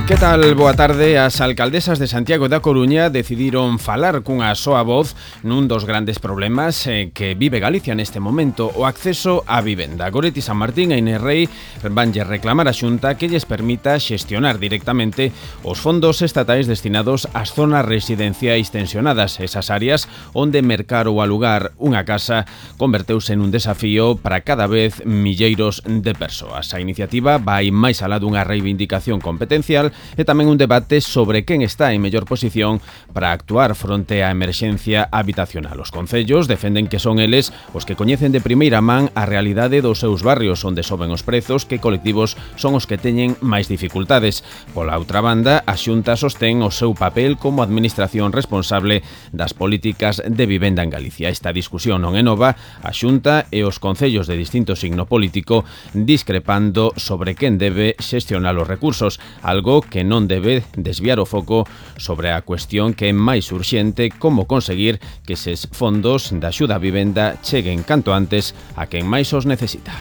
Que tal? Boa tarde. As alcaldesas de Santiago da Coruña decidiron falar cunha soa voz nun dos grandes problemas que vive Galicia neste momento, o acceso á vivenda. Goretti San Martín e Inés Rei vanlle reclamar a Xunta que lles permita xestionar directamente os fondos estatais destinados ás zonas residenciais tensionadas, esas áreas onde mercar ou alugar unha casa converteuse nun desafío para cada vez milleiros de persoas. A iniciativa vai máis alá dunha reivindicación competencial e tamén un debate sobre quen está en mellor posición para actuar fronte á emerxencia habitacional. Os concellos defenden que son eles os que coñecen de primeira man a realidade dos seus barrios onde soben os prezos, que colectivos son os que teñen máis dificultades. Pola outra banda, a Xunta sostén o seu papel como administración responsable das políticas de vivenda en Galicia. Esta discusión non é nova, a Xunta e os concellos de distinto signo político discrepando sobre quen debe xestionar os recursos, algo que non debe desviar o foco sobre a cuestión que é máis urxente, como conseguir que eses fondos da axuda á vivenda cheguen canto antes a quen máis os necesita.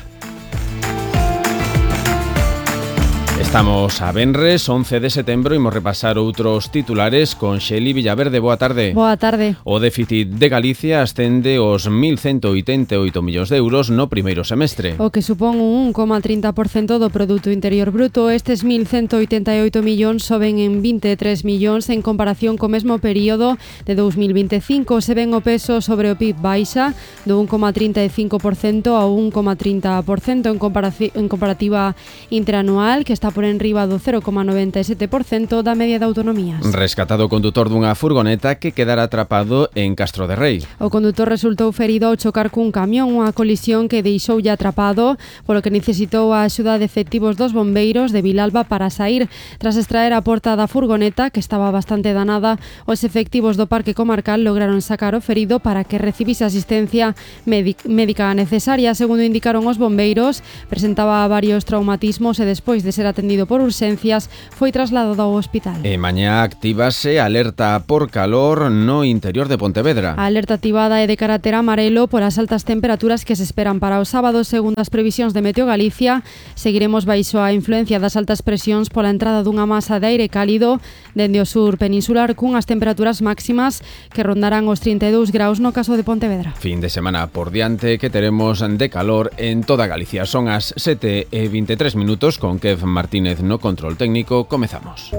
Estamos a venres, 11 de setembro, imos repasar outros titulares con Xeli Villaverde. Boa tarde. Boa tarde. O déficit de Galicia ascende aos 1.188 millóns de euros no primeiro semestre. O que supón un 1,30% do Produto Interior Bruto. Estes 1.188 millóns soben en 23 millóns en comparación co mesmo período de 2025. Se ven o peso sobre o PIB baixa do 1,35% ao 1,30% en comparativa interanual, que está por enriba do 0,97% da media de autonomías. Rescatado o condutor dunha furgoneta que quedara atrapado en Castro de Rei. O condutor resultou ferido ao chocar cun camión, unha colisión que deixoulle atrapado, polo que necesitou a axuda de efectivos dos bombeiros de Vilalba para sair. Tras extraer a porta da furgoneta, que estaba bastante danada, os efectivos do Parque Comarcal lograron sacar o ferido para que recibise asistencia médica necesaria. Segundo indicaron os bombeiros, presentaba varios traumatismos e despois de ser atendido por urxencias foi trasladado ao hospital. E mañá actívase alerta por calor no interior de Pontevedra. A alerta activada é de carácter amarelo por as altas temperaturas que se esperan para o sábado. Segundo as previsións de Meteo Galicia, seguiremos baixo a influencia das altas presións pola entrada dunha masa de aire cálido dende o sur peninsular, cunhas temperaturas máximas que rondarán os 32 graus no caso de Pontevedra. Fin de semana por diante que teremos de calor en toda Galicia. Son as 7:23 con Kev Martínez no control técnico. Comezamos.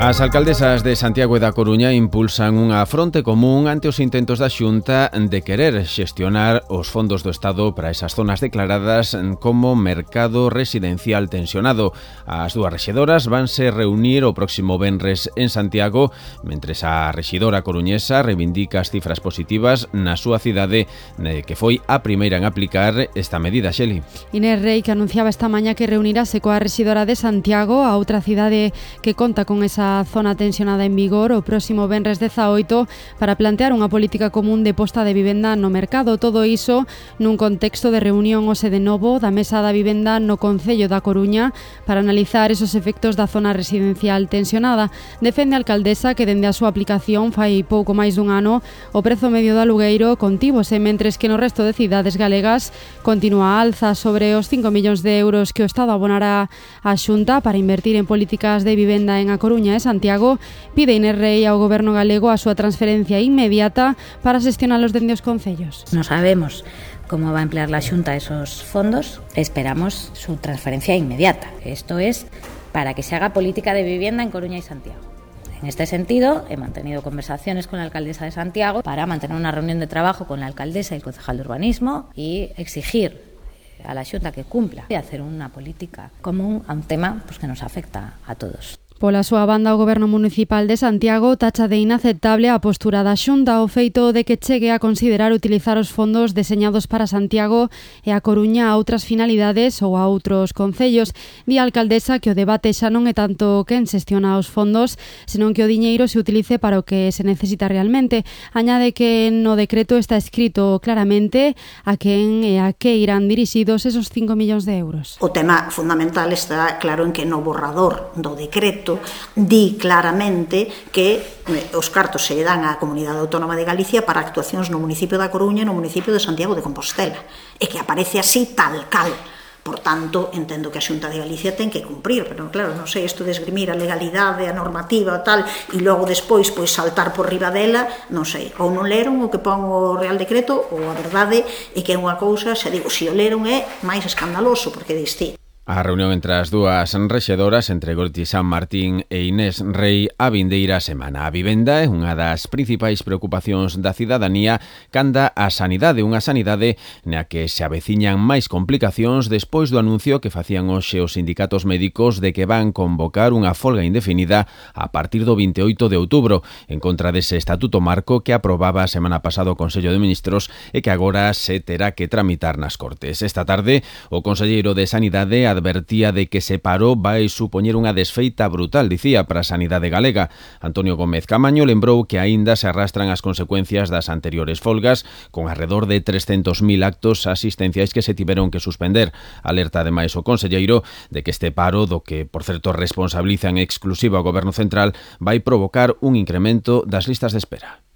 As alcaldesas de Santiago e da Coruña impulsan unha fronte común ante os intentos da Xunta de querer xestionar os fondos do Estado para esas zonas declaradas como mercado residencial tensionado. As dúas rexidoras vanse reunir o próximo venres en Santiago, mentres a rexidora coruñesa reivindica as cifras positivas na súa cidade, que foi a primeira en aplicar esta medida. Xeli. Inés Rei, que anunciaba esta mañá que reunirase coa rexidora de Santiago, a outra cidade que conta con esa zona tensionada en vigor, o próximo venres 18 para plantear unha política común de posta de vivenda no mercado. Todo iso nun contexto de reunión hoxe de novo da Mesa da Vivenda no Concello da Coruña para analizar esos efectos da zona residencial tensionada. Defende a alcaldesa que dende a súa aplicación fai pouco máis dun ano o prezo medio do alugueiro contívose, mentres que no resto de cidades galegas continúa a alza. Sobre os 5 millóns de euros que o Estado abonará á Xunta para invertir en políticas de vivenda en A Coruña e Santiago, pide Inés Rei ao goberno galego a súa transferencia inmediata para xestionalos dende os concellos. Non sabemos cómo va a emplear la Xunta esos fondos, esperamos su transferencia inmediata. Esto es para que se haga política de vivienda en Coruña y Santiago. En este sentido, he mantenido conversaciones con la alcaldesa de Santiago para mantener una reunión de trabajo con la alcaldesa y el concejal de urbanismo y exigir a la Xunta que cumpla y hacer una política común a un tema que nos afecta a todos. Pola súa banda, o Goberno Municipal de Santiago tacha de inaceptable a postura da Xunta, o feito de que chegue a considerar utilizar os fondos deseñados para Santiago e a Coruña a outras finalidades ou a outros concellos. Di a alcaldesa que o debate xa non é tanto quen xestiona os fondos, senón que o diñeiro se utilice para o que se necesita realmente. Añade que no decreto está escrito claramente a quen e a que irán dirixidos esos 5 millóns de euros. O tema fundamental está claro en que no borrador do decreto decreto di claramente que os cartos se dan á Comunidade Autónoma de Galicia para actuacións no municipio da Coruña e no municipio de Santiago de Compostela, e que aparece así tal cal. Por tanto, entendo que a Xunta de Galicia ten que cumprir, pero claro, non sei, isto de esgrimir a legalidade, a normativa, tal, e logo despois pois saltar por riba dela, non sei, ou non leron o que pon o Real Decreto, ou a verdade é que é unha cousa, se digo, se o leron é máis escandaloso, porque diste. A reunión entre as dúas rexedoras, entre Goretti San Martín e Inés Rei, a vindeira semana. A vivenda é unha das principais preocupacións da cidadanía canda a sanidade, unha sanidade na que se aveciñan máis complicacións despois do anuncio que facían hoxe os sindicatos médicos de que van convocar unha folga indefinida a partir do 28 de outubro, en contra dese estatuto marco que aprobaba a semana pasada o Consello de Ministros e que agora se terá que tramitar nas Cortes. Esta tarde, o conselleiro de Sanidade advertía de que se paro vai supoñer unha desfeita brutal, dicía, para a sanidade galega. Antonio Gómez Camaño lembrou que aínda se arrastran as consecuencias das anteriores folgas, con arredor de 300.000 actos asistenciais que se tiveron que suspender. Alerta ademais o conselleiro de que este paro, do que, por certo, responsabiliza en exclusiva o Goberno Central, vai provocar un incremento das listas de espera.